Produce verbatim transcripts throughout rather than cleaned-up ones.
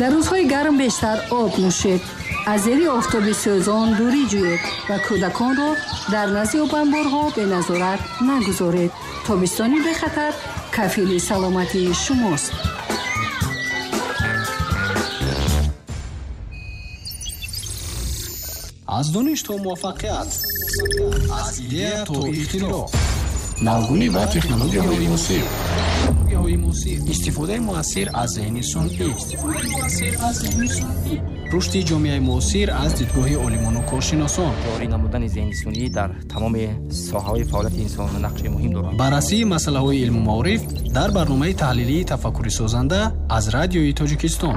Дар рӯзҳои гарм бештар об нӯшед, аз зери офтоби сӯзон дурӣ ҷӯед ва кӯдаконро дар назди обанборҳо беназорат нагузоред. Тобистони бехатар кафили саломатии шумост. Аз дониш то муваффақият, аз идея то ихтироъ, навгунӣ ва технологияҳои муосир, истифодаи муассир аз зеҳни сунъӣ, рушди ҷомеаи муосир аз дидгоҳи олимону коршиносон, ҷорӣ намудани зеҳни сунъӣ дар тамоми соҳаҳои фаъолияти инсон нақши муҳим дорад. Баррасии масъалаҳои илму маориф дар барномаи таҳлилии тафаккури созанда аз Радиои Тоҷикистон.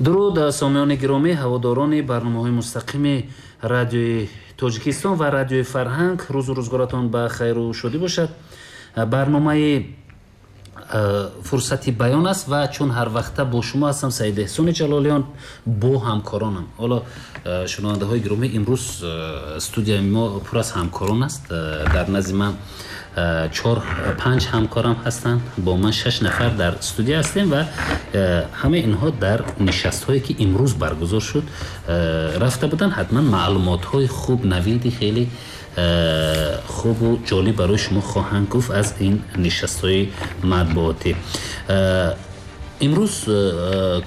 Дуруд сомиёни гиромӣ, ҳаводорони барномаҳои мустақими Радиои Тоҷикистон ва Радиои Фарҳанг. Рӯзу рӯзгоратон ба хайру шодӣ бошад. Барномаи фурсати баён аст ва чун ҳар вақта бо шумо ҳастам Саид Эҳсони Ҷалолиён бо ҳамкоронам. Ҳоло шунавандаҳои гиромӣ, имрӯз студияи мо пур аз ҳамкорон аст. Дар назди ман чор панҷ ҳамкорам ҳастанд, бо ман шаш нафар дар студия ҳастем ва ҳамаи инҳо дар нишастҳое ки имрӯз баргузор шуд рафта буданд. Ҳатман маълумотҳои хуб, навиди хеле хубу ҷолиб барои шумо хоҳанд гуфт аз ин нишастҳои матбуотӣ. Имрӯз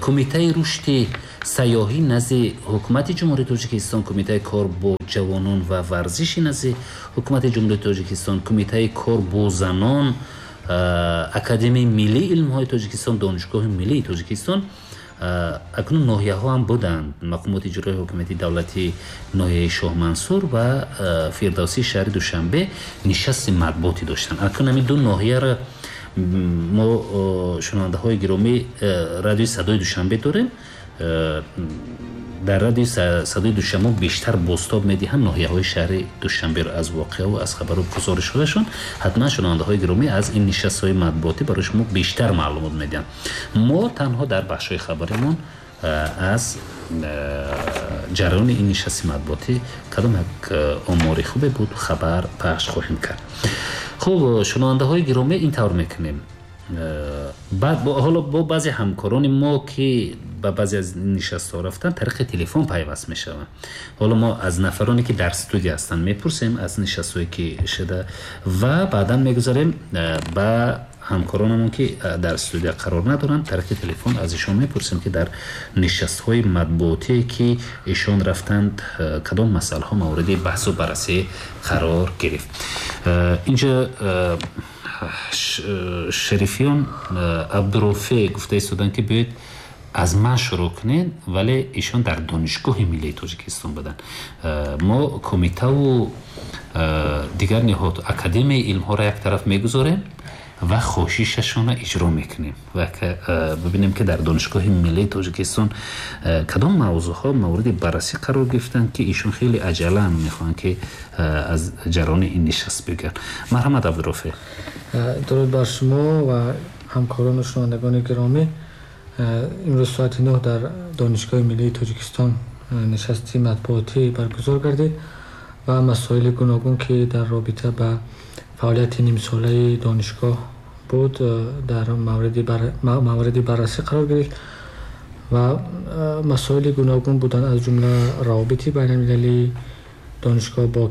Кумитаи рушди сайёҳӣ назди Ҳукумати Ҷумҳурии Тоҷикистон, Кумитаи кор бо ҷавонон ва варзиши назди Ҳукумати Ҷумҳурии Тоҷикистон, Кумитаи кор бо занон, Академияи миллии илмҳои Тоҷикистон, Донишгоҳи миллии Тоҷикистон, акнун ноҳияҳо ҳам буданд, мақомоти иҷроии ҳукумати давлатии ноҳияи Шоҳмансур ва Фирдавсии шаҳри Душанбе нишасти матбуотӣ доштанд. Акнун ҳамин ду ноҳияро мо шунавандаҳои гиромӣ Радиои Садои Душанбе дорем. Дар Радиои Садои Душанбе бештар бозтоб медиҳанд ноҳияҳои шаҳри Душанберо аз воқеаву аз хабару гузоришҳояшон. Ҳатман шунавандаҳои гиромӣ аз ин нишастҳои матбуотӣ барои шумо бештар маълумот медиҳанд. Мо танҳо дар бахшҳои хабаримон аз ҷараёни ин нишасти матбуотӣ кадом як омори хубе буд хабар пахш хоҳем кард. Хуб, шунавандаҳои гиромӣ, ин тавр мекунем. Баъд ҳоло бо баъзе ҳамкорони мо ки ба баъзе аз нишастҳо рафтан тариқи телефон пайваст мешаванд. Ҳоло мо аз нафароне ки дар студия ҳастанд мепурсем аз нишастҳое ки шуда ва баъдан мегузарем ба ҳамкоронамон ки дар студия қарор надоранд, тариқи телефон аз ишон мепурсем ки дар нишастҳои матбуотие ки ишон рафтанд кадом масъалаҳо мавриди баҳсу баррасӣ қарор гирифт. Инҷа Шарифиён Абдурофе гуфта истоданд ки биёед аз ман шурӯъ кунед, вале ишон дар Донишгоҳи миллии Тоҷикистон буданд. Мо кумитаву дигар ниҳод Академияи илмҳоро як тараф мегузорем ва хоҳишашонро иҷро мекунем ва бибинем ки дар Донишгоҳи миллии Тоҷикистон кадом мавзӯъҳо мавриди баррасӣ қарор гирифтанд ки ишон хеле аҷалан мехоҳанд ки аз ҷараёни ин нишаст бигӯянд. Марҳамат Абдурофе. Дуруд бар шумо ва ҳамкорону шунавандагони гиромӣ. Имрӯз соати нӯҳ дар Донишгоҳи миллии Тоҷикистон нишасти матбуотӣ баргузор гардид ва масоили гуногун ки дар робита ба фаъолияти нимсолаи донишгоҳ буд дар мавриди баррасӣ қарор гирифт ва масоили гуногун буданд, аз ҷумла равобити байналмилалии донишгоҳ бо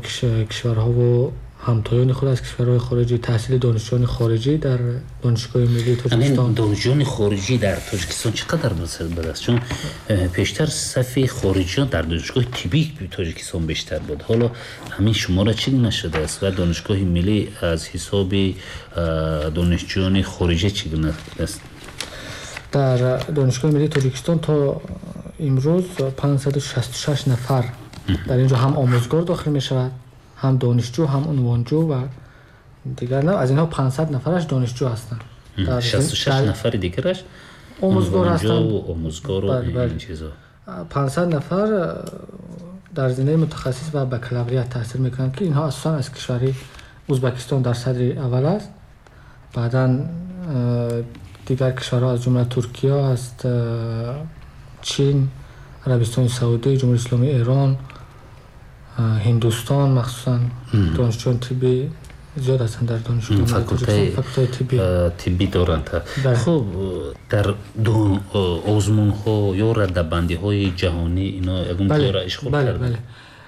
кишварҳову ҳамтоёни худ аз кишварҳои хориҷӣ, таҳсили донишҷӯёни хориҷӣ дар Донишгоҳи миллии Тоҷикистон. Донишҷӯёни хориҷӣ дар Тоҷикистон чӣ қадар будааст? Чун пештар сафи хориҷиён дар донишгоҳи тиббии Тоҷикистон бештар буд. Ҳоло ҳамин шумора чӣ гуна шудааст ва Донишгоҳи миллӣ аз ҳисоби донишҷӯёни хориҷӣ чӣ гуна аст? Дар Донишгоҳи миллии Тоҷикистон то имрӯз панҷсаду шасту шаш нафар дар инҷо ҳам омӯзгор дохил мешавад, ҳам донишҷӯ, ҳам унвонҷӯ ва дигар. Аз инҳо панҷсад нафараш донишҷӯ ҳастанд. шасту шаш нафари дигараш омӯзгор ҳастанд, омӯзгору ин чизо. панҷсад нафар дар зинаи мутахассис ва бакалавриат таҳсил мекунанд ки инҳо асосан аз кишвари Ӯзбекистон дар садри аввал аст. Баъдан дигар кишварҳо аз ҷумла Туркия аст, Чин, Арабистони Саудӣ, Ҷумҳурии Исломии Эрон, Ҳиндустон, махсусан донишҷӯёни тиббӣ зиёд ҳастанд дар донишгоҳи факултаи тиббӣ доранд. Хуб, дар озмунҳо ё радабандиҳои ҷаҳонӣ ино ягон ҷойро ишғол карданд? Бале,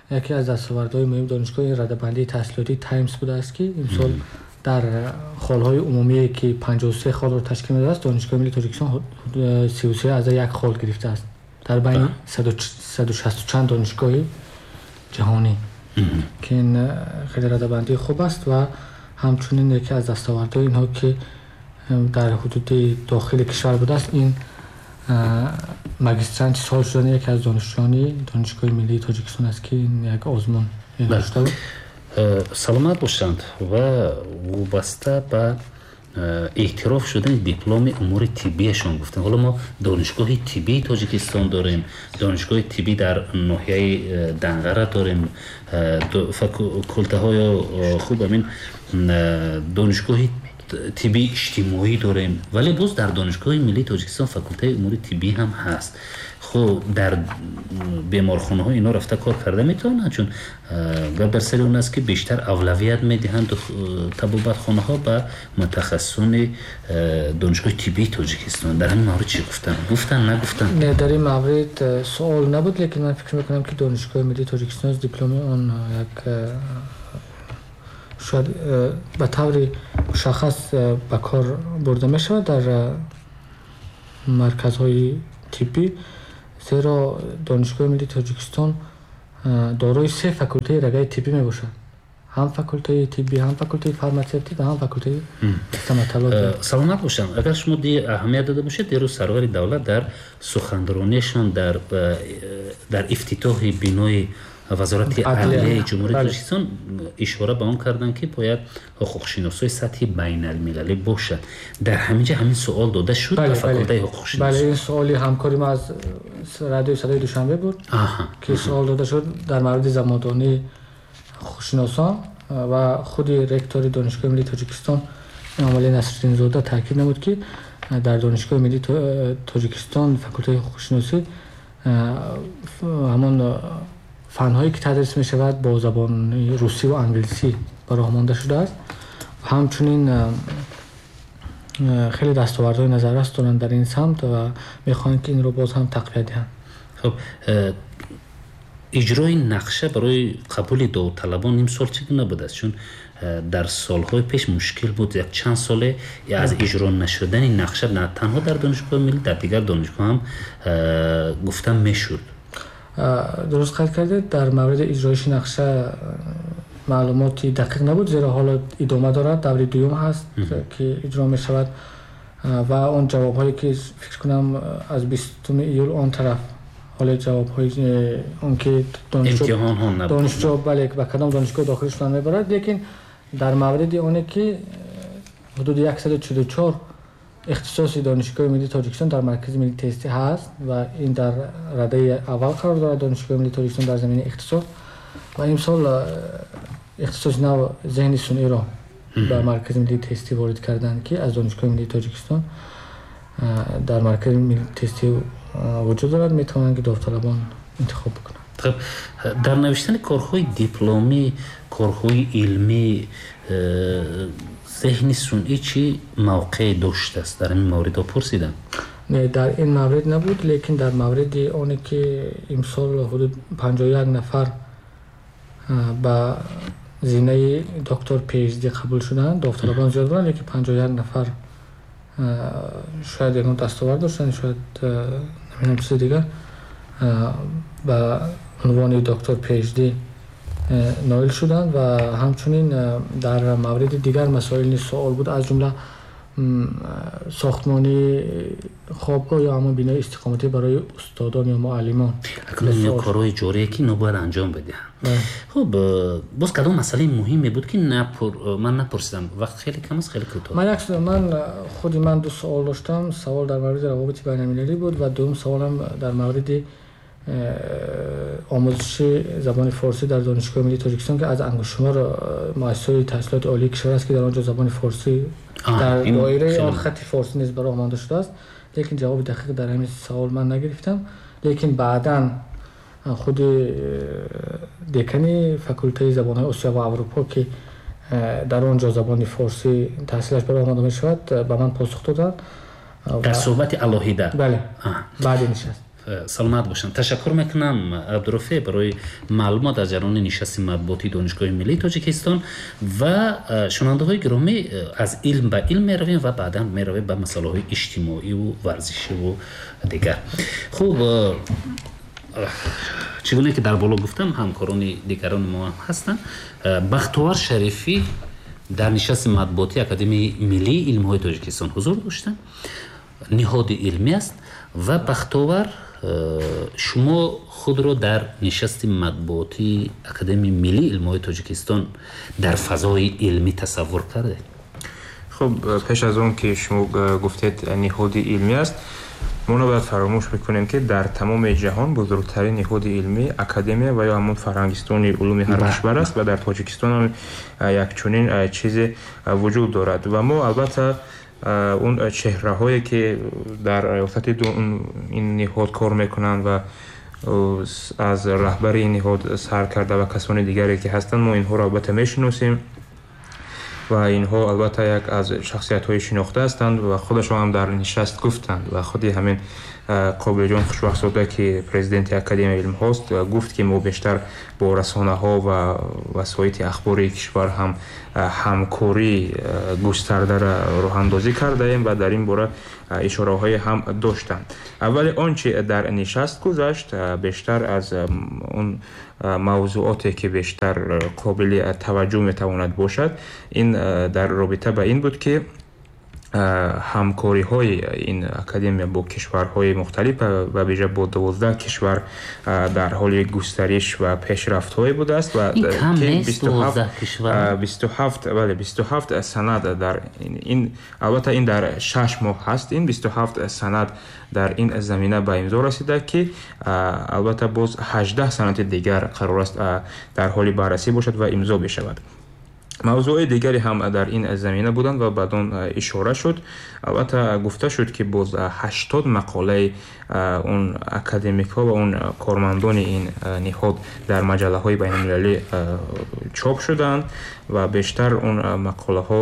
яке аз дастовардҳои муҳими донишгоҳ ин радабандии таҳсилотии Таймс будааст, ки имсол дар холҳои умумие ки панҷоҳу се холро ташкил медодааст, Донишгоҳи миллии Тоҷикистон сию се аз як хол гирифтааст дар байни саду шасту чанд донишгоҳи ҷаҳонӣ, ки ин хеле радабандии хуб аст. Ва ҳамчунин яке аз дастовардҳои инҳо ки дар ҳудуди дохили кишвар будааст, ин магистранти сол шудани яке аз донишҷӯёни Донишгоҳи миллии Тоҷикистон аст, ки ин як озмун дошта буд. Саломат бошанд. Ва вобаста ба эътироф шудани дипломи умури тиббиашон гуфтем. Ҳоло мо Донишгоҳи тиббии Тоҷикистон дорем, Донишгоҳи тиббӣ дар ноҳияи Данғара дорем, факултаҳо ё хуб ҳамин донишгоҳи тиббии иҷтимоӣ дорем, вале боз дар Донишгоҳи миллии Тоҷикистон факултаи умури тиббӣ ҳам ҳаст. Хуб, дар беморхонаҳо ино рафта кор карда метавонанд, чун гап дар сари он аст, ки бештар авлавият медиҳанд табобатхонаҳо ба мутахассисони Донишгоҳи тиббии Тоҷикистон. Дар ҳамин маврид чӣ гуфтанд? Гуфтанд, нагуфтанд? Не, дар ин маврид суол набуд, лекин ман фикр мекунам, ки Донишгоҳи миллии Тоҷикистон дипломи он як шояд ба таври мушаххас ба кор бурда мешавад дар марказҳои тиббӣ, зеро Донишгоҳи миллии Тоҷикистон дорои се факултаи рагаи тиббӣ мебошад: ҳам факултаи тиббӣ, ҳам факултаи фарматсевтӣ ва ҳам факултаи стоматология. Саломат бошанд. Агар шумо аҳамият дода бошед, дирӯз сарвари давлат дар суханрониашон дар дар ифтитоҳи бинои Вазорати адлияи Ҷумҳурии Тоҷикистон ишора ба он карданд, ки бояд ҳуқуқшиносҳои сатҳи байналмилалӣ бошад. Дар ҳамин ҷо ҳамин суол дода шуд ба факултаи ҳуқуқшиносӣ. Бале, ин суоли ҳамкори мо аз радиои Садои Душанбе буд, ки суол дода шуд дар мавриди забондонии ҳуқуқшиносон, ва худи ректори Донишгоҳи миллии Тоҷикистон Эмомалӣ Насриддинзода таъкид намуд, ки дар Донишгоҳи миллии Тоҷикистон факултаи ҳуқуқшиносӣ ҳамон фанҳое ки тадрис мешавад бо забони русӣ ва англисӣ ба роҳ монда шудааст. Ҳамчунин хеле дастовардҳои назаррас доранд дар ин самт ва мехоҳанд, ки инро боз ҳам тақвият диҳанд. Хуб, иҷрои нақша барои қабули довталабон имсол чӣ гуна будааст? Чун дар солҳои пеш мушкил буд, як чанд соле аз иҷро нашудани нақша на танҳо дар Донишгоҳи миллӣ, дар дигар донишгоҳ ҳам гуфта мешуд. Дуруст қайд кардед, дар мавриди иҷроиши нақша маълумоти дақиқ набуд, зеро ҳоло идома дорад, даври дуюм ҳаст, ки иҷро мешавад, ва он ҷавобҳое ки фикр кунам аз бистуми июл он тараф ҳоло ҷавобҳои он ки донишҷӯ бале ба кадом донишгоҳ дохил шудан мебарад, лекин дар мавриди оне ки ҳудуди яксаду чилу чор ихтисоси Донишгоҳи миллии Тоҷикистон дар Маркази миллии тестӣ ҳаст ва ин дар радаи аввал қарор дорад Донишгоҳи миллии Тоҷикистон дар заминаи ихтисос, ва имсол ихтисоси нав зеҳни сунъиро ба Маркази миллии тестӣ ворид карданд, ки аз Донишгоҳи миллии Тоҷикистон дар Маркази миллии тестӣ вуҷуд дорад, метавонанд ки довталабон интихоб бикунанд. Хуб, дар навиштани корҳои дипломӣ, корҳои илмӣ зеҳни сунъӣ чӣ мавқеъ доштааст? Дар ҳамин мавридҳо пурсидам. Не, дар ин маврид набуд, лекин дар мавриди оне ки имсол ҳудуд панҷоҳу як нафар ба зинаи доктор PhD қабул шуданд, довталабон зиёд буданд, лекин панҷоҳу як нафар шояд ягон дастовард доштанд, шояд намедонам чизи дигар, ба унвони доктор PhD ноил шуданд. Ва ҳамчунин дар мавриди дигар масоил низ суол буд, аз ҷумла сохтмони хобгоҳ ё ҳамон бинои истиқоматӣ барои устодон ё муаллимон. Акнун ин корҳои ҷорие ки инҳо бояд анҷом бидиҳанд. Хуб, боз кадом масъалаи муҳиме буд, ки ман напурсидам? Вақт хеле кам аст, хеле кӯтоҳ. Ман як ман худи ман ду суол доштам. Савол дар мавриди равобити байналмилалӣ буд ва дуюм саволам дар мавриди омӯзиши забони форсӣ дар Донишгоҳи миллии Тоҷикистон, ки аз ангуштшумор муассисаҳои таҳсилоти олии кишвар аст, ки дар он ҷо забони форсӣ дар доираи он хати форсӣ низ ба роҳ монда шудааст, лекин ҷавоби дақиқ дар ҳамин савол ман нагирифтам. Лекин баъдан худи декани факултаи забонҳои Осиё ва Аврупо, ки дар он ҷо забони форсӣ таҳсилаш ба роҳ монда мешавад, ба ман посух доданд. Дар суҳбати алоҳида? Бале, баъди нишаст. Саломат бошанд. Ташаккур мекунам, Абдурофеъ, барои маълумот аз ҷараёни нишасти матбуотии Донишгоҳи миллии Тоҷикистон. Ва шунавандаҳои гиромӣ, аз илм ба илм меравем ва баъдан меравем ба масъалаҳои иҷтимоиву варзишиву дигар. Хуб, чӣ гуна ки дар боло гуфтам, ҳамкорони дигарони мо ҳам ҳастанд. Бахтовар Шарифӣ дар нишасти матбуотии Академияи миллии илмҳои Тоҷикистон ҳузур доштанд. Ниҳоди илмӣ аст. Ва Бахтовар, шумо худро дар нишасти матбуотии Академияи миллии илмҳои Тоҷикистон дар фазои илмӣ тасаввур кардед? Хуб, пеш аз он ки шумо гуфтед ниҳоди илмӣ аст, мо набояд фаромӯш бикунем, ки дар тамоми ҷаҳон бузургтарин ниҳоди илмӣ академия ва ё ҳамон фарҳангистони улуми ҳар кишвар аст ва дар Тоҷикистон ҳам як чунин чизе вуҷуд дорад. Ва мо албатта он чеҳраҳое ки дар риёсати ин ниҳод кор мекунанд ва аз раҳбари ин ниҳод сар карда ва касони дигаре ки ҳастанд, мо инҳоро албатта мешиносем ва инҳо албатта як аз шахсиятҳои шинохта ҳастанд ва худашон ҳам дар нишаст гуфтанд. Ва худи ҳамин Қобилҷон Хушбахтзода, ки президенти Академияи илмҳост, гуфт, ки мо бештар бо расонаҳо ва васоити ахбори кишвар ҳам ҳамкории густардаро роҳандозӣ кардаем ва дар ин бора ишораҳое ҳам доштанд. Аввали он чи дар нишаст гузашт, бештар аз он мавзӯоте ки бештар қобили таваҷҷӯҳ метавонад бошад, ин дар робита ба ин буд, ки ҳамкориҳои ин академия бо кишварҳои мухталиф ва вижа бо дувоздаҳ кишвар дар ҳоли густариш ва пешрафтҳое будааст ва бисту ҳафт бале бисту ҳафт санад дар ин, албатта ин дар шаш моҳ ҳаст, ин бисту ҳафт санад дар ин замина ба имзо расида, ки албатта боз ҳаждаҳ санади дигар қарор аст дар ҳоли баррасӣ бошад ва имзо бишавад. Мавзӯъҳои дигаре ҳам дар ин замина буданд ва баъд он ишора шуд. Албатта гуфта шуд, ки боз ҳаштод мақолаи он академикҳо ва он кормандони ин ниҳод дар маҷаллаҳои байналмилалӣ чоп шуданд ва бештар он мақолаҳо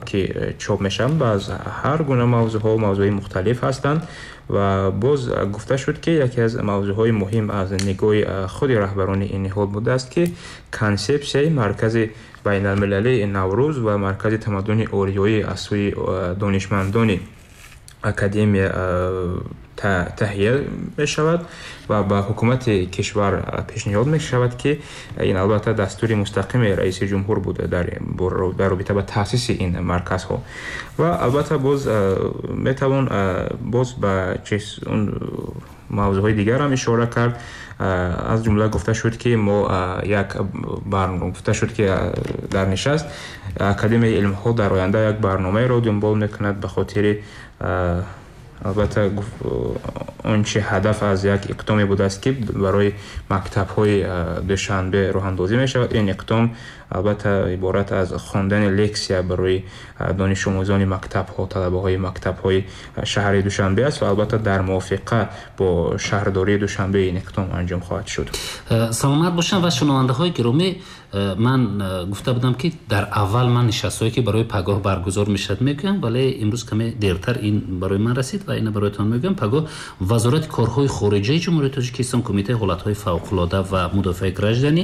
ки чоп мешаванд аз ҳар гуна мавзӯъҳо, мавзӯъҳои мухталиф ҳастанд. Ва боз гуфта шуд, ки яке аз мавзӯъҳои муҳим аз нигоҳи худи раҳбарони ин ниҳод будааст, ки консепсияи маркази байналмилалии Наврӯз ва маркази тамаддуни ориёӣ аз сӯи донишмандони академия таҳия мешавад ва ба ҳукумати кишвар пешниҳод мешавад, ки ин албатта дастури мустақими раиси ҷумҳур буда дар робита ба таъсиси ин марказҳо. Ва албатта боз метавон боз ба он мавзӯъҳои дигар ҳам ишора кард. Аз ҷумла гуфта шуд, ки мо як гуфта шуд, ки дар нишаст Академияи илмҳо дар оянда як барномаеро дунбол мекунад ба хотири албатта он чи ҳадаф аз як иқдоме будааст, ки барои мактабҳои Душанбе роҳандозӣ мешавад. Ин иқдом албатта иборат аз хондани лексия барои донишомӯзони мактабҳо, талабаҳои мактабҳои шаҳри Душанбе аст ва албатта дар мувофиқа бо шаҳрдории Душанбе ин иқдом анҷом хоҳад шуд. Саломат бошанд. Ва шунавандаҳои гиромӣ, ман гуфта будам, ки дар аввал ман нишастҳое ки барои пагоҳ баргузор мешавад мегӯям, вале имрӯз каме дертар ин барои ман расид ва ина бароятон мегӯям. Пагоҳ Вазорати корҳои хориҷаи Ҷумҳурии Тоҷикистон, Кумитаи ҳолатҳои фавқулода ва мудофиаи гражданӣ,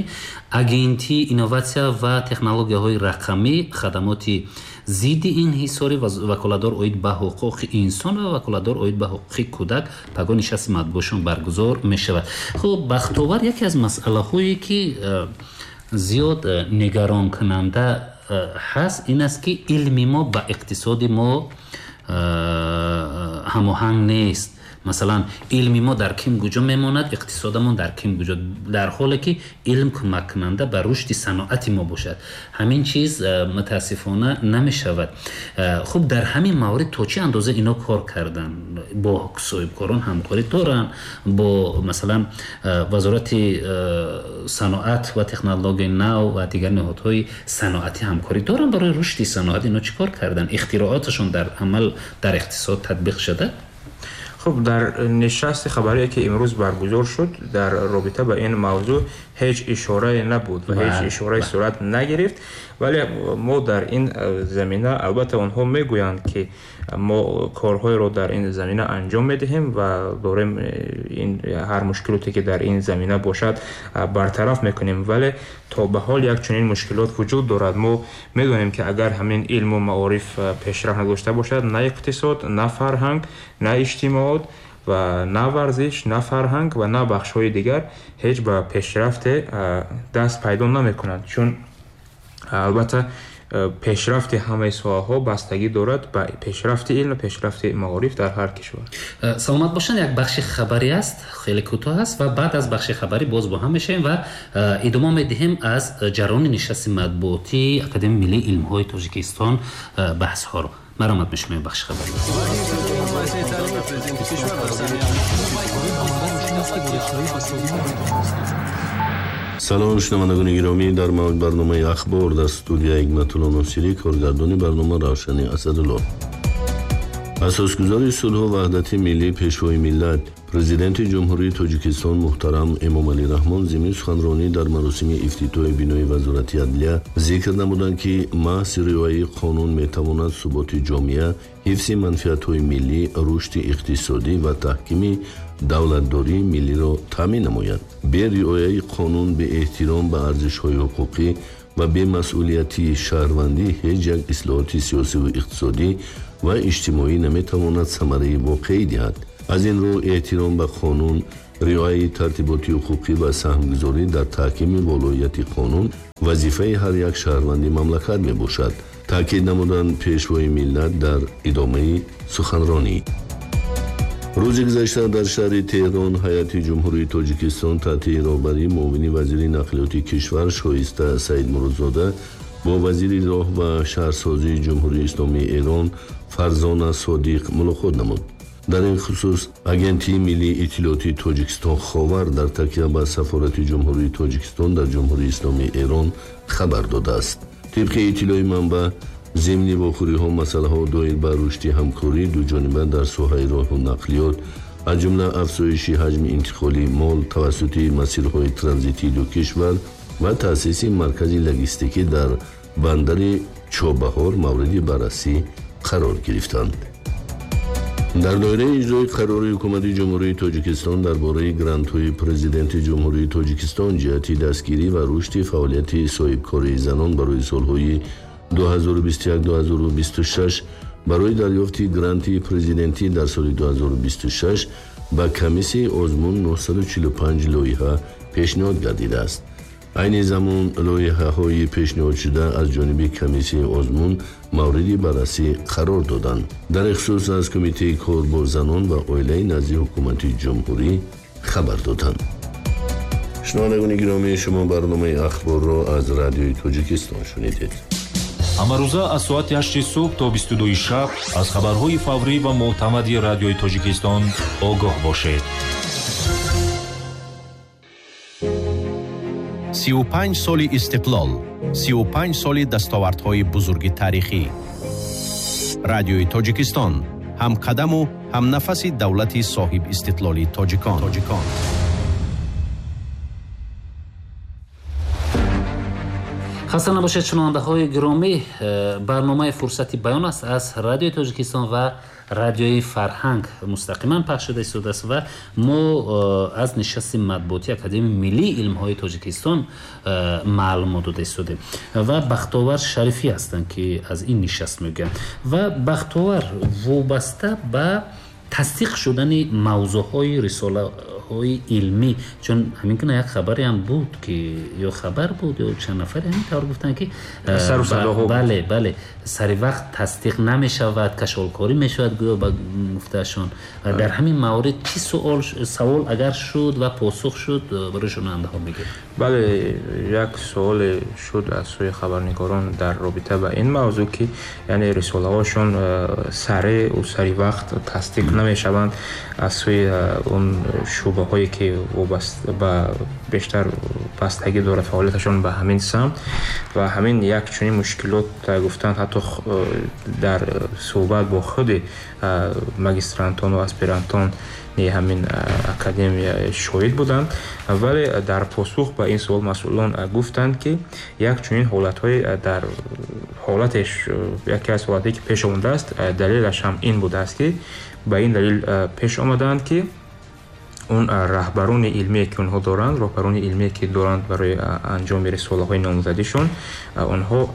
Агентии инноватсия ва технологияҳои рақамӣ, хадамоти зидди инҳисорӣ, ваколатдор оид ба ҳуқуқи инсон ва ваколатдор оид ба ҳуқуқи кӯдак пагоҳ нишасти матбуотшон баргузор мешавад. Хуб, Бахтовар, яке аз масъалаҳое ки зиёд нигаронкунанда ҳаст ин аст, ки илми мо ба иқтисоди мо ҳамоҳанг нест. Масалан, илми мо дар ким куҷо мемонад, иқтисодамон дар ким куҷо, дар ҳоле ки илм кӯмаккунанда ба рушди саноати мо бошад. Ҳамин чиз мутаассифона намешавад. Хуб, дар ҳамин маврид то чӣ андоза ино кор карданд? Бо соҳибкорон ҳамкорӣ доранд, бо масалан вазорати саноат ва технологияи нав ва дигар ниҳодҳои саноатӣ ҳамкорӣ доранд барои рушди саноат. Ино чӣ кор карданд? Ихтирооташон дар амал дар иқтисод татбиқ шуда? Хуб, дар нишасти хабарие ки имрӯз баргузор шуд, дар робита ба ин мавзӯъ ҳеҷ ишорае набуд ва ҳеҷ ишораи сурат нагирифт. Вале мо дар ин замина албатта онҳо мегӯянд, ки мо корҳоеро дар ин замина анҷом медиҳем ва дорем ин ҳар мушкилоте ки дар ин замина бошад бартараф мекунем, вале то ба ҳол як чунин мушкилот вуҷуд дорад. Мо медонем, ки агар ҳамин илму маориф пешрафт надошта бошад, на иқтисод, на фарҳанг, на иҷтимоот ва на варзиш, на фарҳанг ва на бахшҳои дигар ҳеҷ ба пешрафте даст пайдо намекунанд. Чун албатта пешрафти ҳамаи соҳаҳо бастагӣ дорад ба пешрафти илм ва пешрафти маориф дар ҳар кишвар. Саломат бошанд. Як бахши хабарӣ аст, хеле кӯтоҳ аст ва баъд аз бахши хабарӣ боз бо ҳам мешавем ва идома медиҳем аз ҷараёни нишасти матбуотии Академияи миллии илмҳои Тоҷикистон баҳсҳоро. Маромад мешавем бахши хабарӣ. Салом шунавандагони гиромӣ, дар барномаи ахбор дар студия Ҳикматулло Носирӣ, коргардони барнома Равшани Асадулло. Асосгузори сулҳу ваҳдати миллӣ, пешвои миллат, президенти Ҷумҳурии Тоҷикистон муҳтарам Эмомалӣ Раҳмон зимни суханронӣ дар маросими ифтитоҳи бинои Вазорати адлия зикр намуданд, ки маҳз риояи қонун метавонад суботи ҷомеа, ҳифзи манфиатҳои миллӣ, рушди иқтисодӣ ва таҳкими давлатдории миллиро таъмин намояд. Бе риояи қонун, беэҳтиром ба арзишҳои ҳуқуқӣ ва бемасъулияти шаҳрвандӣ ҳеҷ як ислоҳоти сиёсиву иқтисодӣ ва иҷтимоӣ наметавонад самараи воқеӣ диҳад. Аз ин рӯ эҳтиром ба қонун, риояи тартиботи ҳуқуқӣ ва саҳмгузорӣ дар таҳкими волоияти қонун вазифаи ҳар як шаҳрванди мамлакат мебошад, таъкид намуданд пешвои миллат дар идомаи суханронӣ. Рӯзи гузашта дар шаҳри Теҳрон ҳайати Ҷумҳурии Тоҷикистон таҳти роҳбарии муовини вазири нақлиёти кишвар Шоиста Саидмуродзода бо вазири роҳ ва шаҳрсозии Ҷумҳурии Исломии Эрон Фарзона Содиқ мулоқот намуд. Дар ин хусус Агентии миллии иттилоотии Тоҷикистон Ховар дар такя ба Сафорати Ҷумҳурии Тоҷикистон дар Ҷумҳурии Исломии Эрон хабар додааст. Тибқи иттилои манбаъ, зимни вохӯриҳо масъалаҳо доир ба рушди ҳамкории дуҷониба дар соҳаи роҳу нақлиёт, аз ҷумла афзоиши ҳаҷми интиқоли мол тавассути масирҳои транзитии ду кишвар ва таъсиси маркази логистикӣ дар бандари Чобаҳор мавриди баррасӣ қарор гирифтанд. Дар доираи иҷрои қарори Ҳукумати Ҷумҳурии Тоҷикистон дар бораи грантҳои Президенти Ҷумҳурии Тоҷикистон ҷиҳати дастгирӣ ва рушди фаъолияти соҳибкории занон барои солҳои ду ҳазору бисту як - ду ҳазору бисту шаш барои дарёфти гранти президентӣ дар соли ду ҳазору бисту шаш ба комиссияи озмун нӯҳсаду чилу панҷ лоиҳа пешниҳод гардидааст. Айни замон лоиҳаҳои пешниҳодшуда аз ҷониби комиссияи озмун мавриди баррасӣ қарор доданд. Дар ин хусус аз Кумитаи кор бо занон ва оилаи назди Ҳукумати Ҷумҳурӣ хабар доданд. Шунавандагони гиромӣ, шумо барномаи ахборро аз Радиои Тоҷикистон шунидед. Ҳамарӯза аз соати ҳашти субҳ то бисту дуи шаб аз хабарҳои фаврӣ ва мӯътамади Радиои Тоҷикистон огоҳ бошед. сию панҷ соли истиқлол, сию панҷ соли дастовардҳои бузурги таърихӣ. Радиои Тоҷикистон ҳамқадаму ҳамнафаси давлати соҳиб истиқлоли тоҷикон. Тоҷикон. Хаста набошед, шунавандаҳои гиромӣ, барномаи фурсати баён аст аз Радиои Тоҷикистон ва Радиои Фарҳанг мустақиман пахш шуда истодааст ва мо аз нишасти матбуотии Академияи миллии илмҳои Тоҷикистон маълумот дода истодем ва Бахтовар Шарифӣ ҳастанд, ки аз ин нишаст мегӯянд. Ва Бахтовар, вобаста ба тасдиқ шудани мавзӯъҳои рисолаҳои илмӣ, чун ҳамин гуна як хабаре ҳам буд, ки ё хабар буд ё чанд нафаре ҳамин тавр гуфтанд, ки бале бале сари вақт тасдиқ намешавад, кашолкорӣ мешавад гӯё ба гуфтаашон. Дар ҳамин маврид чӣ суол савол агар шуд ва посух шуд барои шунавандаҳо мегӯед? Бале, як суоле шуд аз сӯи хабарнигорон дар робита ба ин мавзӯъ, ки яъне рисолаҳошон сареъу сари вақт тасдиқ намешаванд аз сӯи он шӯъбаҳое ки вобаста ба бештар бастагӣ дорад фаъолияташон ба ҳамин самт, ва ҳамин як чунин мушкилот гуфтанд ҳатто дар суҳбат бо худи магистрантон ва аспирантон ҳамин академия шоҳид буданд. Вале дар посух ба ин суол масъулон гуфтанд, ки як чунин ҳолатҳои дар ҳолатеш, яке аз ҳолатҳое ки пеш омадааст, далелаш ҳам ин будааст, ки ба ин далел пеш омадаанд, ки он раҳбарони илмие ки онҳо доранд, роҳбарони илмие ки доранд барои анҷоми рисолаҳои номзадишон, онҳо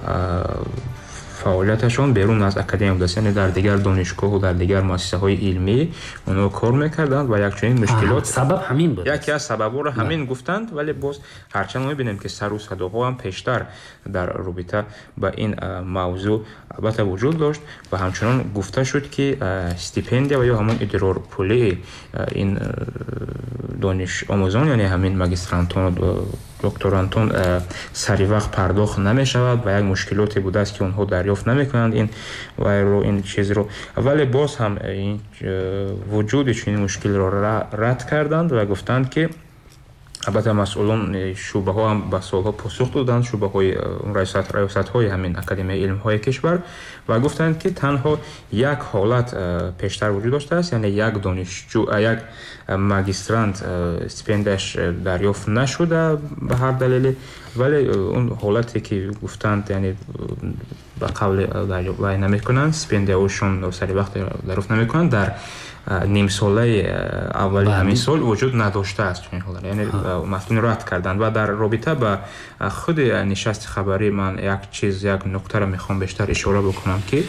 фаъолияташон берун аз академия будааст, яъне дар дигар донишгоҳу дар дигар муассисаҳои илмӣ онҳо кор мекарданд ва якчунин мушкилот сабаб ҳамин буд. Яке аз сабабҳоро ҳамин гуфтанд, вале боз ҳарчанд мебинем, ки сару садоҳо ҳам пештар дар робита ба ин мавзӯъ албатта вуҷуд дошт ва ҳамчунон гуфта шуд, ки стипендия ва ё ҳамон идрорпулии ин донишомӯзон, яъне ҳамин магистрантон, докторантон сари вақт пардохт намешавад ва як мушкилоте будааст, ки онҳо дарёфт намекунанд ин вайро, ин чизро. Вале боз ҳам вуҷуди чунин мушкилро рад карданд ва гуфтанд, ки албатта масъулон шӯъбаҳо ҳам ба суолҳо посух доданд, шӯъбаҳои раёсатҳои ҳамин Академияи илмҳои кишвар, ва гуфтанд, ки танҳо як ҳолат пештар вуҷуд доштааст, яъне як донишҷӯ, як магистрант стипендияш дарёфт нашуда ба ҳар далеле, вале он ҳолате ки гуфтанд, яъне ба қавли вай намекунанд, стипендияҳошон сари вақт дарёфт намекунанд, дар нимсолаи аввали ҳамин сол вуҷуд надоштааст чунин ҳолат, яъне масъулин рад карданд. Ва дар робита ба худи нишасти хабарӣ ман як чиз, як нуктаро мехоҳам бештар ишора бикунам, ки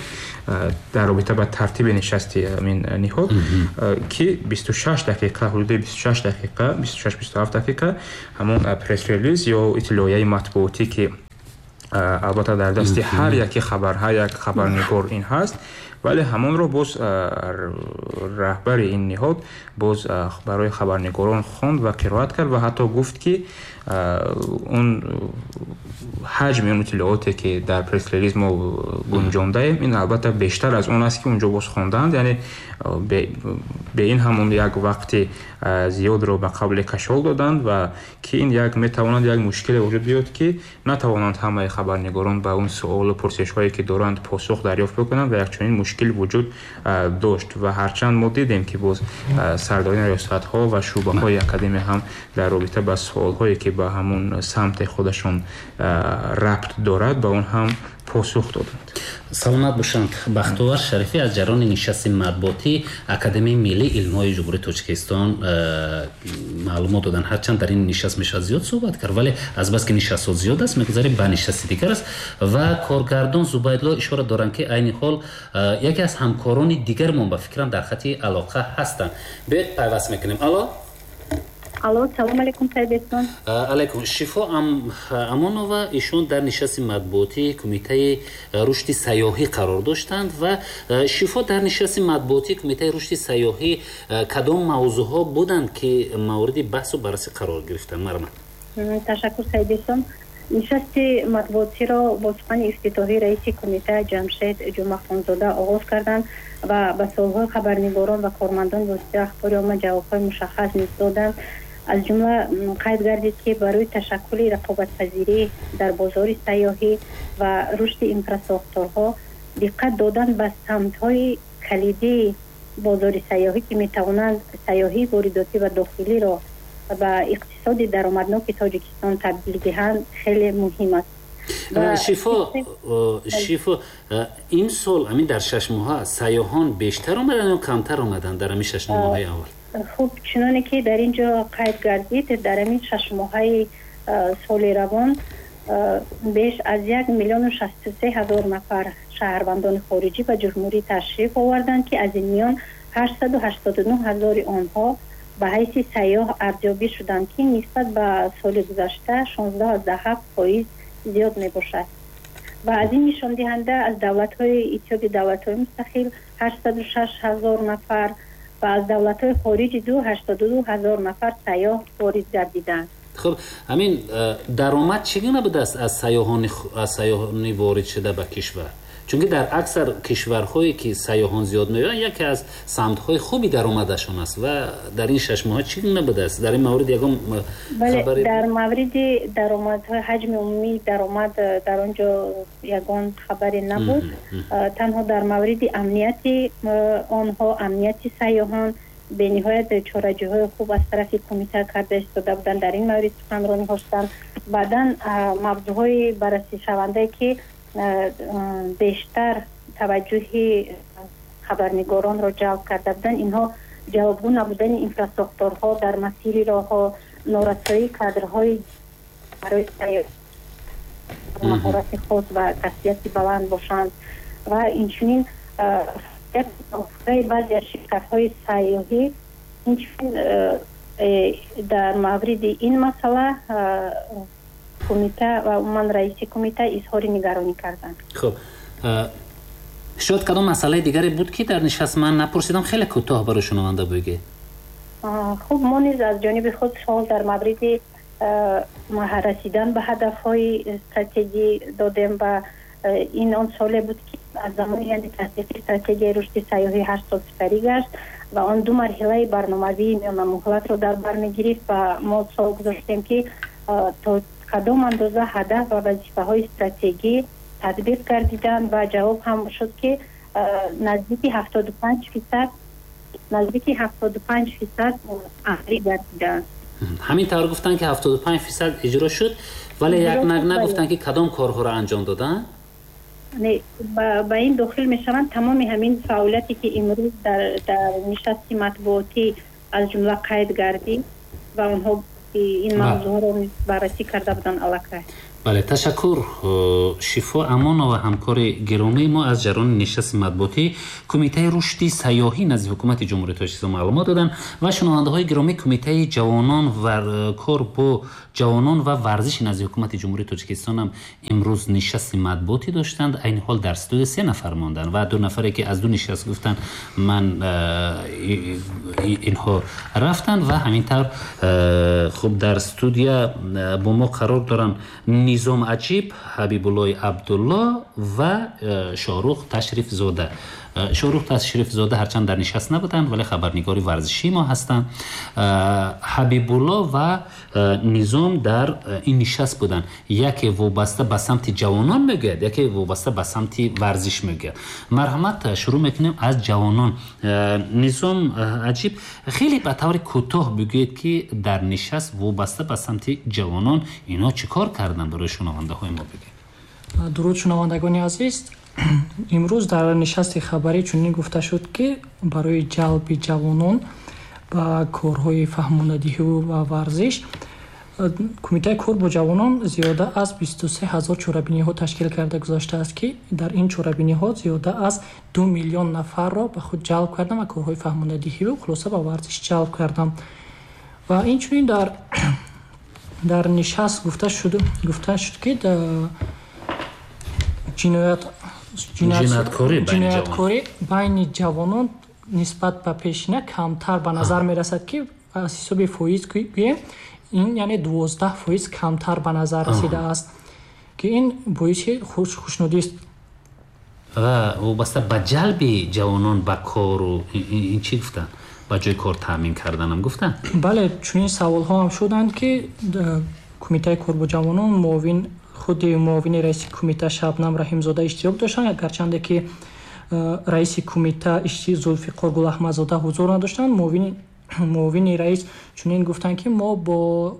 дар робита ба тартиби нишасти ҳамин ниҳод, ки бисту шаш дақиқа, ҳудуди бисту шаш дақиқа, бисту шаш бисту ҳафт дақиқа ҳамон пресс-релиз ё иттилоияи матбуотӣ, ки албатта дар дасти ҳар яке хабар, ҳар як хабарнигор ин ҳаст, вале ҳамонро боз раҳбари ин ниҳод боз барои хабарнигорон хонд ва қироат кард ва ҳатто гуфт, ки он ҳаҷми он иттилооте ки дар пресс-релиз мо гунҷондаем, ин албатта бештар аз он аст, ки унҷо боз хонданд, яъне бе ин ҳам он як вақти зиёдро ба қабли кашол доданд ва ки ин як метавонад як мушкиле вуҷуд биёд, ки натавонанд ҳамаи хабарнигорон ба он суолу пурсишҳое ки доранд посух дарёфт бикунанд ва якчунин мушкил вуҷуд дошт. Ва ҳарчанд мо дидем, ки боз сардорони риёсатҳо ва шӯъбаҳои академия ҳам дар робита ба суолҳое ки ба ҳамон самти худашон рабт дорад, ба он ҳам посух доданд. Саломат бошанд. Бахтовар Шарифӣ аз ҷараёни нишасти матбуотии Академияи миллии илмҳои Ҷумҳурии Тоҷикистон маълумот доданд. Ҳарчанд дар ин нишаст мешавад зиёд суҳбат кард, вале азбаски нишастҳо зиёд аст, мегузарем ба нишасти дигар аст. Ва коргардон Зубайдулло ишора доранд, ки айни ҳол яке аз ҳамкорони дигармон ба фикрам дар хати алоқа ҳастанд. Биёед пайваст мекунем. Алло. Алло, салом алейкум, Саид Эҳсон. Алейкум. Шифо Амонова, ишон дар нишасти матбуотии Кумитаи рушди сайёҳӣ қарор доштанд ва Шифо, дар нишасти матбуотии Кумитаи рушди сайёҳӣ кадом мавзӯъҳо буданд, ки мавриди баҳсу баррасӣ қарор гирифтанд? Марҳамат. Ташаккур, Саид Эҳсон. Нишасти матбуотиро бо сухани ифтитоҳии раиси кумита Ҷамшед Ҷумъахонзода оғоз карданд ва ба суолҳои хабарнигорон ва кормандони воситаи ахбори омма ҷавобҳои мушаххас низ доданд. Аз ҷумла қайд гардид, ки барои ташаккули рақобатпазирӣ дар бозори сайёҳӣ ва рушди инфрасохторҳо диққат додан ба самтҳои калидии бозори сайёҳӣ, ки метавонанд сайёҳии воридотӣ ва дохилиро ба иқтисоди даромадноки Тоҷикистон табдил диҳанд, хеле муҳим аст. Шифо, Шифо, имсол ҳамин дар шаш моҳа сайёҳон бештар омаданд ё камтар омаданд дар ҳамин шаш моҳаи аввал? Хуб, чуноне ки дар ин ҷо қайд гардид, дар ҳамин шаш моҳаи соли равон беш аз як миллиону шасту се ҳазор нафар шаҳрвандони хориҷӣ ба ҷумҳурӣ ташриф оварданд, ки аз ин миён ҳаштсаду ҳаштоду нӯҳ ҳазори онҳо ба ҳайси сайёҳ арзёбӣ шуданд, ки нисбат ба соли гузашта шонздаҳ аз даҳ ҳафт фоиз зиёд мебошад. Ва аз ин нишондиҳанда аз давлатҳои Иттиҳоди давлатҳои мустақил ҳаштсаду шаш ҳазор нафар ва аз давлатҳои хориҷи ду ҳаштоду ду ҳазор нафар сайёҳ ворид гардиданд. Хуб, ҳамин даромад чӣ гуна будааст аз сайёҳони аз сайёҳони ворид шуда ба кишвар? Чунки дар аксар кишварҳое ки сайёҳон зиёд меоянд, яке аз самтҳои хуби даромадашон аст ва дар ин шаш моҳ чӣ гуна будааст? Дар ин маврид ягон хабаре? Дар мавриди даромадҳои ҳаҷми умумии даромад дар он ҷо ягон хабаре набуд. Танҳо дар мавриди амнияти онҳо, амнияти сайёҳон бениҳоят чораҷиҳои хуб аз тарафи кумита карда истода буданд, дар ин маврид суханронӣ доштанд. Баъдан мавзӯъҳои баррасишавандае ки бештар таваҷҷӯҳи хабарнигоронро ҷалб карда буданд, инҳо ҷавобгӯ набудани инфрасохторҳо дар масири роҳҳо, норасоии кадрҳои барои маҳорати хос ва касбияти баланд бошанд ва инчунин баъзе аз ширкатҳои сайёҳӣ. Инчунин дар мавриди ин масъала кумита ва умуман раиси кумита изҳори нигаронӣ карданд. Хуб, шояд кадом масъалаи дигаре буд ки дар нишаст ман напурсидам, хеле кӯтоҳ барои шунаванда бигӯед. Хуб, мо низ аз ҷониби худ суол дар мавриди расидан ба ҳадафҳои стратегӣ додем ва ин он суоле буд ки аз замони яъне тасдиқи стратегияи рушди сайёҳӣ ҳашт сол сипарӣ гашт ва он ду марҳилаи барномавии миёнамуҳлатро дар бар мегирифт ва мо суол гузоштем ки то кадом андоза ҳадаф ва вазифаҳои стратегӣ татбиқ гардиданд ва ҷавоб ҳам шуд ки наздики ҳафтоду панҷ фисад наздики ҳафтоду панҷ фисад амалӣ гардиданд. Ҳамин тавр гуфтанд ки ҳафтоду панҷ фисад иҷро шуд, вале як нагуфтанд ки кадом корҳоро анҷом доданд. Не, ба ин дохил мешаванд тамоми ҳамин фаъолияте ки имрӯз дар дар нишасти матбуотӣ аз ҷумла қайд гардид ва онҳо ин мавзӯъро баррасӣ карда буданд аллакай. Бале, ташаккур. Шифо Амонова, ҳамкори гиромии мо, аз ҷараёни нишасти матбуотӣ Кумитаи рушди сайёҳӣ назди ҳукумати Ҷумҳурии Тоҷикистон маълумот доданд ва шунавандаҳои гиромӣ Кумитаи ҷавонон ва кор бо ҷавонон ва варзиши назди ҳукумати Ҷумҳурии Тоҷикистон ҳам имрӯз нишасти матбуотӣ доштанд. Айни ҳол дар студия се нафар монданд ва ду нафаре ки аз ду нишаст гуфтанд ман инҳо рафтанд ва ҳамин тавр хуб дар студия бо мо қарор доранд Низом Аҷиб, Ҳабибуллои Абдулло ва Шоҳрух Ташрифзода. Шоҳрух Ташрифзода ҳарчанд дар нишаст набуданд, вале хабарнигори варзишии мо ҳастанд. Ҳабибулло ва Низом дар ин нишаст буданд. Яке вобаста ба самти ҷавонон мегӯяд, яке вобаста ба самти варзиш мегӯяд. Марҳамат, шурӯъ мекунем аз ҷавонон. Низом Аҷиб, хеле ба таври кӯтоҳ бигӯед ки дар нишаст вобаста ба самти ҷавонон инҳо чӣ кор карданд, барои шунавандаҳои мо бигӯед. Дуруд шунавандагони азиз. Имрӯз дар нишасти хабарӣ чунин гуфта шуд ки барои ҷалби ҷавонон ба корҳои фаҳмонадиҳӣ ва варзиш Кумитаи кор бо ҷавонон зиёда аз бисту се ҳазор чорабиниҳо ташкил карда гузаштааст ки дар ин чорабиниҳо зиёда аз ду миллион нафарро ба худ ҷалб карданд ва корҳои фаҳмонадиҳӣ ва хулоса ба варзиш ҷалб карданд. Ва инчунин дар дар нишаст гуфта шуд гуфта шуд ки ҷиноят ҷинояткорӣ байни ҷавонон нисбат ба пешина камтар ба назар мерасад ки аз ҳисоби фоиз гӯем ин яъне дувоздаҳ фоиз камтар ба назар расидааст ки ин боиси хушнудист. Ва вобаста ба ҷалби ҷавонон ба кору ин чӣ гуфтанд? Ба ҷои кор таъмин карданам гуфтанд? Бале, чунин саволҳо ҳам шуданд ки Кумитаи кор бо ҷавонон муовин худи муовини раиси кумита Шабнам Раҳимзода иштирок доштанд, гарчанде ки раиси кумита Зулфиқор Гулаҳмадзода ҳузур надоштанд. Муовини раис чунин гуфтанд ки мо бо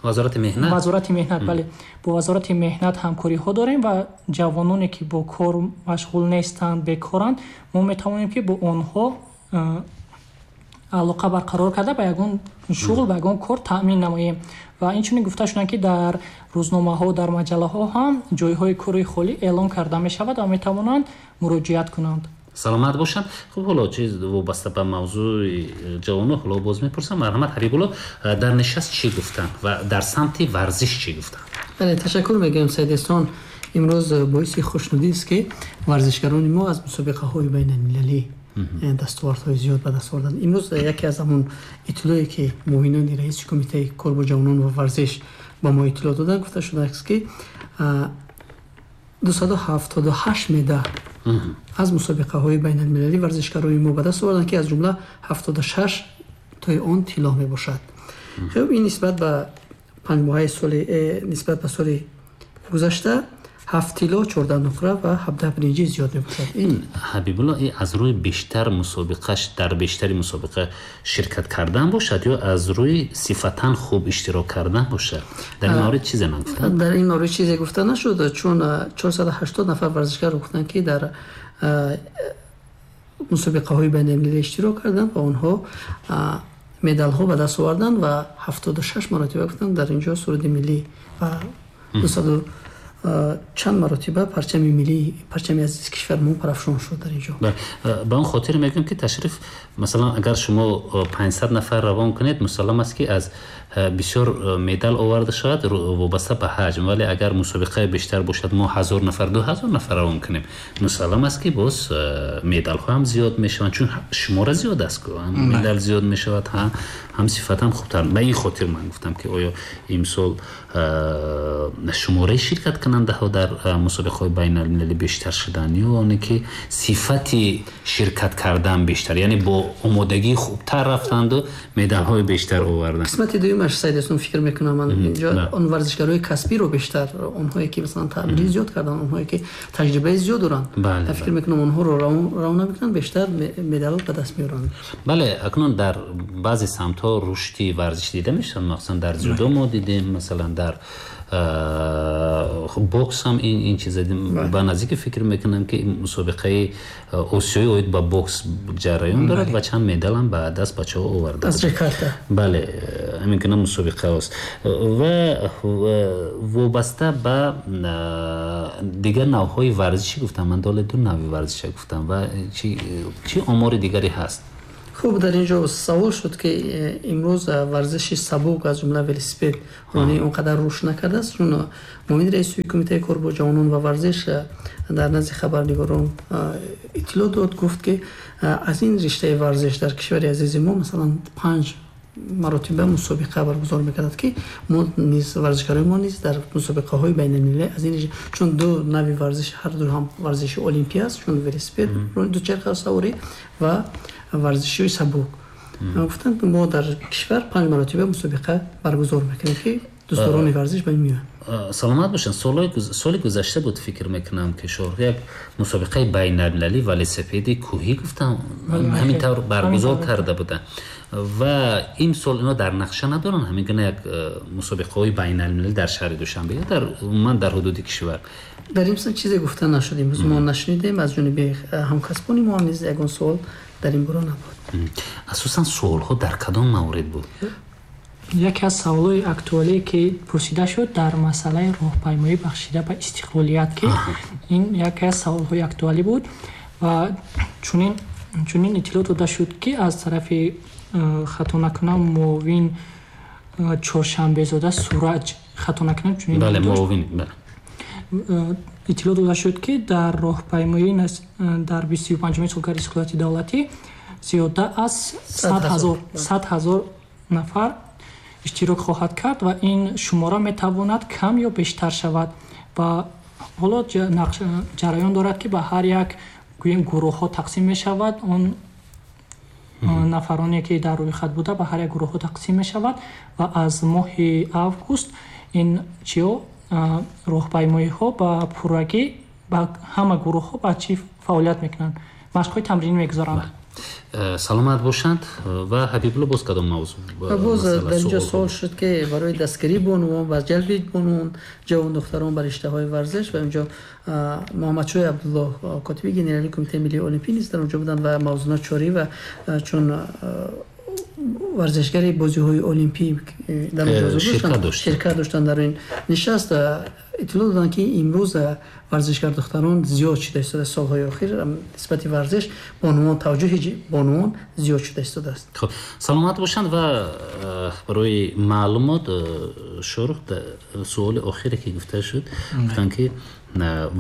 вазорати меҳнат вазорати меҳнат бале, бо вазорати меҳнат ҳамкориҳо дорем ва ҷавононе ки бо кор машғул нестанд, бекоранд, мо метавонем ки бо онҳо алоқа барқарор карда ба ягон шуғл, ба ягон кор таъмин намоем. Ва инчунин гуфта шуданд ки дар рӯзномаҳо, дар маҷаллаҳо ҳам ҷойҳои кори холӣ эълон карда мешавад ва метавонанд муроҷиат кунанд. Саломат бошанд. Хуб, ҳоло чиз вобаста ба мавзӯи ҷавонон ҳоло боз мепурсам. Марҳамат Ҳабибулло, дар нишаст чӣ гуфтанд ва дар самти варзиш чӣ гуфтанд? Бале, ташаккур мегӯям Саид Эҳсон. Имрӯз боиси хушнудӣ аст ки варзишгарони мо аз мусобиқаҳои байналмилалӣ дастовардҳои зиёд ба даст оварданд. Имрӯз яке аз ҳамон иттилоъе ки муовинони раиси кумитаи кор бо ҷавонон ва варзиш ба мо иттилоъ доданд, гуфта шудааст ки дусаду ҳафтоду ҳашт медал аз мусобиқаҳои байналмилалӣ варзишгарони мо ба даст оварданд ки аз ҷумла ҳафтоду шаш тои он тилло мебошад. Хуб, ин нисбат ба панҷ моҳаи соли нисбат ба соли гузашта Ҳафт тилло, чордаҳ нуқра ва ҳабдаҳ биринҷӣ зиёд мебошад. Ин Ҳабибулло аз рӯи бештар мусобиқаш дар бештари мусобиқа ширкат кардан бошад ё аз рӯи сифатан хуб иштирок кардан бошад? Дар ин маврид чизе нагуфтанд? Дар ин маврид чизе гуфта нашуд, чун чорсаду ҳаштод нафар варзишгар гуфтанд, ки дар мусобиқаҳои байналмилалӣ иштирок карданд ва онҳо медалҳо ба даст оварданд ва ҳафтоду шаш маротиба гуфтанд дар инҷо суруди миллӣ ва дусаду чанд маротиба парчами миллӣ, парчами азизи кишварамон парафшон шуд дар инҷо. Ба он хотир мегӯям, ки ташриф, масалан, агар шумо панҷсад нафар равон кунед, мусаллам аст, ки аз бисёр медал оварда шавад вобаста ба ҳаҷм, вале агар мусобиқаи бештар бошад, мо ҳазор нафар, ду ҳазор нафар равон кунем, мусаллам аст, ки боз медалҳо ҳам зиёд мешаванд, чун шумора зиёд аст, ҳам медал зиёд мешавад, ҳам сифат ҳам хубтар. Ба ин хотир ман гуфтам, ки оё имсол шумораи ширкаткунандаҳо дар мусобиқаҳои байналмилалӣ бештар шуданд ё оне ки сифати ширкат кардан бештар, яъне бо омодагии хубтар рафтанду медалҳои бештар оварданд? Қисмати дуюмаш, Саид Эҳсон, фикр мекунам ман инҷо он варзишгарои касбиро бештар, онҳое ки масалан таъмири зиёд карданд, онҳое ки таҷрибаи зиёд доранд, фикр мекунам онҳоро равона мекунанд, бештар медал ба даст меоранд. Бале, акнун дар баъзе самтҳо рушди варзиш дида мешавад, махсусан дар дзюдо мо дидем, масалан дар бокс ҳам ин ин чиза ба наздики фикр мекунам, ки мусобиқаи осиёӣ оид ба бокс ҷараён дорад ва чанд медал ҳам ба даст бачаҳо оварда. Аз Ҷакарта. Бале, ҳамин гуна мусобиқаҳост ва вобаста ба дигар навъҳои варзишӣ гуфтам, ман доле ду навъи варзиша гуфтам ва чӣ омори дигаре ҳаст? Хуб, дар инҷо савол шуд, ки имрӯз варзиши сабук, аз ҷумла велосипед ронӣ, он қадар рушд накардааст, чун муовини раиси кумитаи кор бо ҷавонон ва варзиш дар назди хабарнигорон иттилоъ дод, гуфт, ки аз ин риштаи варзиш дар кишвари азизи мо масалан панҷ маротиба мусобиқа баргузор мекардад, ки мо низ варзишгарои мо низ дар мусобиқаҳои байналмилалӣ аз ин, чун ду нави варзиш, ҳар ду ҳам варзиши олимпӣ аст, чун велосипед, дучархасаворӣ ва варзиши сабук. Гуфтанд, мо дар кишвар панҷ маротиба мусобиқа баргузор мекунем, ки дӯстдорони варзиш ба ин меоянд. Саломат бошанд. Соли гузашта буд, фикр мекунам, ки шоҳ як мусобиқаи байналмилалӣ велосипеди кӯҳӣ гуфтам ҳамин тавр баргузор карда буданд ва имсол ино дар нақша надоранд ҳамин гуна як мусобиқаҳои байналмилалӣ дар шаҳри Душанбе ё дар умуман дар ҳудуди кишвар? Дар ин чизе гуфта нашуд, имрӯз мо нашунидем, аз ҷониби ҳамкасбони мо ҳам низ ягон суол дар ин бора набуд. Асосан суолҳо дар кадом маврид буд? Яке аз саволҳои актуалие, ки пурсида шуд, дар масъалаи роҳпаймоӣ бахшида ба истиқлолият, ки ин яке аз саволҳои актуалӣ буд ва чунин чунин иттилоъ дода шуд, ки аз тарафи, хато накунам, муовин Чоршанбезода Сураҷ, хато накунам, чунин бале, муовин, бале, иттилоъ дода шуд, ки дар роҳпаймоӣ дар бисту панҷумин солгарди истиқлолияти давлатӣ зиёда аз сад ҳазор нафар иштирок хоҳад кард ва ин шумора метавонад кам ё бештар шавад ва ҳоло ҷараён дорад, ки ба ҳар як гӯем гурӯҳҳо тақсим мешавад. Он нафароне, ки дар рӯйхат буда, ба ҳар як гурӯҳҳо тақсим мешавад ва аз моҳи август ин чиё роҳпаймоиҳо ба пуррагӣ ба ҳама гурӯҳҳо ба чӣ фаъолият мекунанд, машқҳои тамринӣ мегузоранд. Саломат бошанд. Ва Ҳабибулло, боз кадом мавзӯъ? Боз дар инҷо суол шуд, ки барои дастгирии бонувон ва ҷалби бонувон, ҷавон духтарон ба риштаҳои варзиш ва инҷо Муҳаммадшоҳ Абдуллоҳ, котиби генералии Кумитаи миллии олимпӣ низ дар онҷо буданд ва Мавзуна Чорӣ ва чун варзишгари бозиҳои олимпӣ дар онҷо ширкат доштанд, дар ин нишаст иттилоъ доданд, ки имрӯз варзишгар духтарон зиёд шуда истодааст. Солҳои охир нисбати варзиш бонувон таваҷҷӯҳи бонувон зиёд шуда истодааст. Хуб, саломат бошанд. Ва барои маълумот, Шоҳрух, суоли охире, ки гуфта шуд, гуфтанд, ки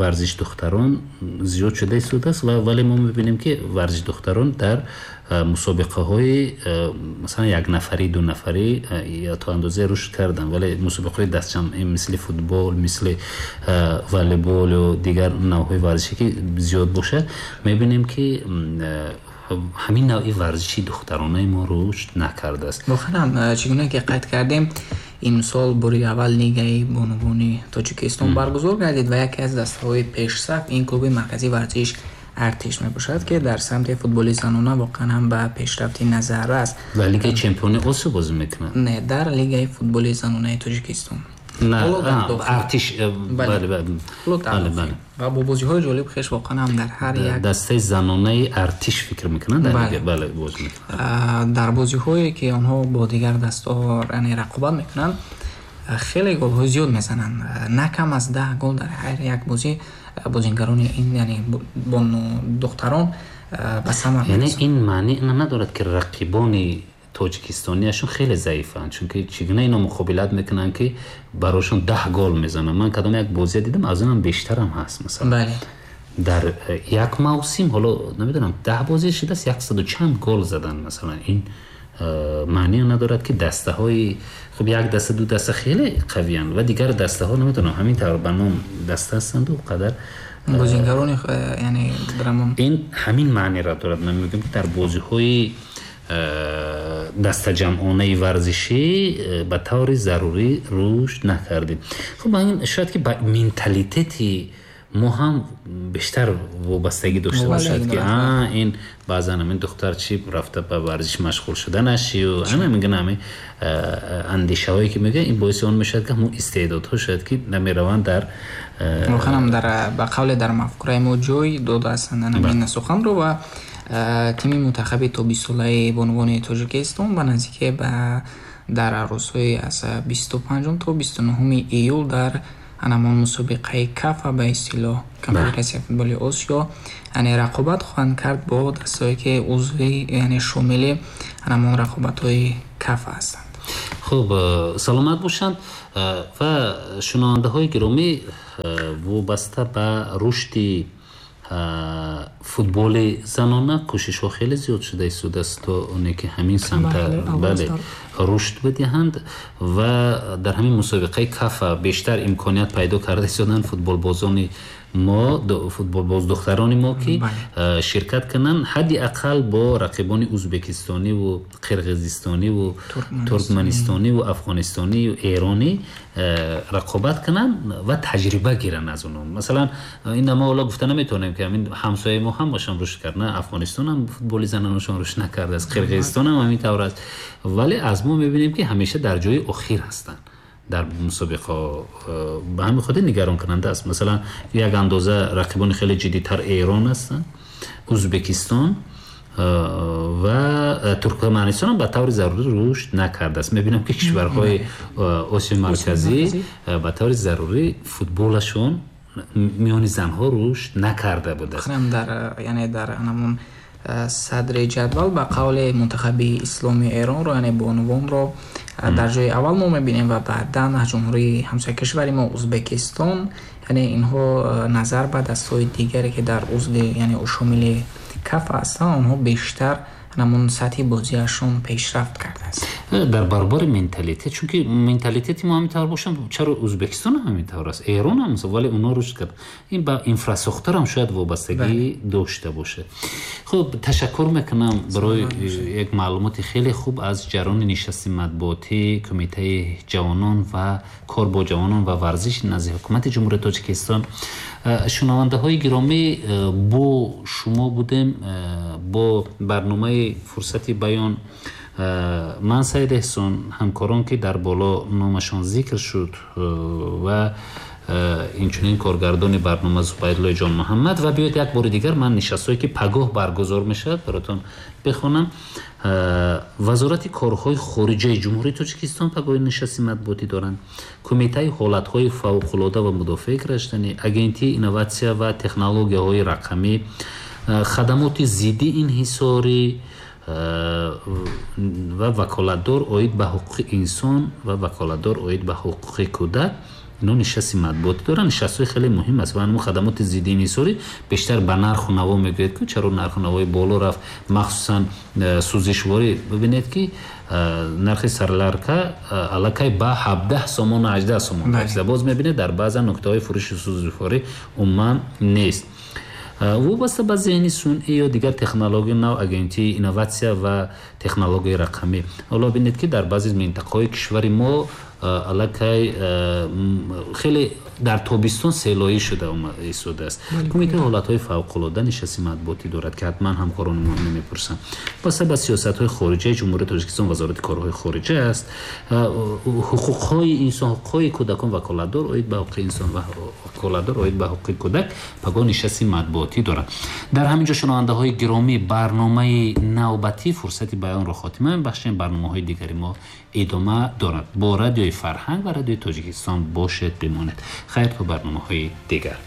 варзиш духтарон зиёд шуда истодааст, вале мо мебинем, ки варзиш духтарон дар мусобиқаҳои масалан якнафарӣ, дунафарӣ ё то андозе рушд карданд, вале мусобиқаҳои дастҷамъӣ мисли футбол, мисли волейбол ва дигар навъҳои варзише, ки зиёд бошад, мебинем, ки ҳамин навъи варзиши духтаронаи мо рушд накардааст. Воқеан чӣ гуна ки қайд кардем, Имсол бори аввал лигаи бонувони Тоҷикистон баргузор гардид ва яке аз дастаҳои пешсаф ин клуби марказии варзиш Артиш мебошад, ки дар самти футболи занона воқеан ҳам ба пешрафти назар аст. Дар лигаи чемпиони Осиё бозӣ мекунад? Не, дар лигаи футболи занонаи Тоҷикистон. Не, Артиш, бале, бале. Бале, ва бо бозиҳои ҷолиб хеш воқеан ҳам дар ҳар як дастаи занонаи Артиш фикр мекунанд, дар лига, бале, бозӣ мекунанд. Дар бозиҳое ки онҳо бо дигар дастаҳо яъне рақобат мекунанд, хеле голҳои зиёд мезананд. На кам аз даҳ гол дар ҳар як бозӣ бозингарони ин, яъне духтарон ба самар мерасонанд. Яъне ин маъни надорад ки рақибони тоҷикистониашон хеле заифанд, чунки чӣ гуна ино муқобилат мекунанд ки барошон даҳ гол мезананд. Ман кадом як бозия дидам, аз онам бештарам ҳаст, масалан. Бале. Дар як мавсим, ҳоло намедонам, даҳ бозӣ шудааст, яксаду чанд гол задан, масалан. Ин маъни надорад ки дастаҳои хуб, як даста, ду даста хеле қавиянд ва дигар дастаҳо намедонам, ҳамин тавр ба ном даста ҳастанд ва қадар бозингарони, яъне драмон. Ин ҳамин маъниро дорад. Ман мегӯям ки дар бозиҳои дастаҷамъонаи варзишӣ ба таври зарурӣ рушд накардем. Хуб, ин шояд ки ба менталитети мо ҳам бештар вобастагӣ дошта бошад, ки а ин баъзан ҳамин духтар чӣ рафта ба варзиш машғул шуданаш ё ҳама мегӯянд, ҳамин андешаҳое ки мегӯянд, ин боиси он мешавад ки ҳамон истеъдодҳо шояд ки намераванд дар воқеан ҳам дар ба қавле дар мафкураи мо ҷой додаастанд ҳамин суханро. Ва тими мунтахаби то бистсолаи бонувони Тоҷикистон ба наздикӣ ба дар рӯзҳои аз бисту панҷум то бисту нуҳуми июл дар ҳамон мусобиқаи кафа, ба истилоҳ конфедератсияи футболи Осиё, яъне рақобат хоҳанд кард бо дастҳое ки узви, яъне шомили ҳамон рақобатҳои кафа ҳастанд. Хуб, саломат бошанд. Ва шунавандаҳои гиромӣ, вобаста ба рушди футболи занона кӯшишҳо хеле зиёд шуда истодааст то оне ки ҳамин самта, бале, рушд бидиҳанд ва дар ҳамин мусобиқаи кафа бештар имконият пайдо карда истоданд футболбозони мо, футболбоз духтарони мо ки ширкат кунанд ҳадди ақал бо рақибони ӯзбекистониву қирғизистониву туркманистониву афғонистониву эронӣ рақобат кунанд ва таҷриба гиранд аз онҳо. Масалан, ин мо ҳоло гуфта наметавонем ки ҳамин ҳамсояи мо ҳам бошам рушд кард, на Афғонистон ҳам футболи занонашон рушд накардааст, Қирғизистон ҳам ҳамин тавр аст, вале аз мо мебинем ки ҳамеша дар ҷои охир ҳастанд дар мусобиқаҳо. Ба ҳамин хотир нигаронкунанда аст. Масалан, як андоза рақибони хеле ҷиддитар Эрон ҳастанд, Ӯзбекистон ва Туркманистон ҳам ба таври зарурӣ рушд накардааст. Мебинам ки кишварҳои Осиёи Марказӣ ба таври зарурӣ футболашон миёни занҳо рушд накарда будааст. Дар, яъне дар ҳамон садри ҷадвал ба қавли мунтахаби исломии Эронро, яъне бонувонро дар ҷои аввал мо мебинем ва баъдан ҷумҳурии ҳамсояи кишвари мо Ӯзбекистон, яъне инҳо назар ба дастҳои дигаре ки дар узви, яъне шомили кафа ҳастанд, онҳо бештар ҳамон сатҳи бозиашон пешрафт кардааст. Дар баробари менталитет, чунки менталитети мо ҳамин тавр бошам, чаро Ӯзбекистон ҳам ҳамин тавр аст, Эрон ҳам, вале онҳо рушд кард. Ин ба инфрасохтор ҳам шояд вобастагӣ дошта бошад. Хуб, ташаккур мекунам барои як маълумоти хеле хуб аз ҷараёни нишасти матбуотии Кумитаи ҷавонон ва кор бо ҷавонон ва варзиш назди ҳукумати Ҷумҳурии Тоҷикистон. Шунавандаҳои гиромӣ, бо шумо будем бо барномаи Фурсати баён. Ман Саид Эҳсон, ҳамкорон ки дар боло номашон зикр шуд ва инчунин коргардони барнома Зубайдуллои ҷон Муҳаммад. Ва биёед як бори дигар ман нишастҳое ки пагоҳ баргузор мешавад баротон бихонам. Вазорати корҳои хориҷаи Ҷумҳурии Тоҷикистон пагоҳи нишасти матбуотӣ доранд. Кумитаи ҳолатҳои фавқулода ва мудофиаи гражданӣ, Агентии инноватсия ва технологияҳои рақамӣ, хадамоти зидди инҳисорӣ ва ваколатдор оид ба ҳуқуқи инсон ва ваколатдор оид ба ҳуқуқи кӯдак. Ино нишасти матбуотӣ доранд. Нишастҳои хеле муҳим аст ва ҳамон хадамоти зидди инҳисорӣ бештар ба нарху наво мегӯяд ки чаро нарху навои боло рафт, махсусан сӯзишворӣ. Бибинед ки нархи сарларка аллакай ба ҳабдаҳ сомон ва ҳаждаҳ сомон расида. Боз мебинед дар баъзан нуктаҳои фурӯши сӯзишворӣ умуман нест. Вобаста ба зеҳни сунъӣ ё дигар технологияи нав, агентии инноватсия ва технологияи рақамӣ. Ҳоло бинед ки дар баъзе минтақаҳои кишвари мо Аллакай хеле дар тобистон селоӣ шуда истодааст. Кумитаи ҳолатҳои фавқулода нишасти матбуотӣ дорад, ки ҳатман ҳамкорони мо намепурсанд. Баста ба сиёсатҳои хориҷаи Ҷумҳурии Тоҷикистон, Вазорати корҳои хориҷа аст, ҳуқуқҳои инсон, ҳуқуқҳои кӯдакон, ваколатдор оид ба ҳуқуқи инсон ва ваколатдор оид ба ҳуқуқи кӯдак пагоҳ нишасти матбуотӣ дорад. Дар ҳамин ҷо, шунавандаҳои гиромӣ, барномаи навбатӣ фурсати баёнро хотима мебахшем. Барномаҳои дигари мо идома дорад. Бо Радиои Фарҳанг ва Радиои Тоҷикистон бошед, бимонед. Хайр, то барномаҳои дигар.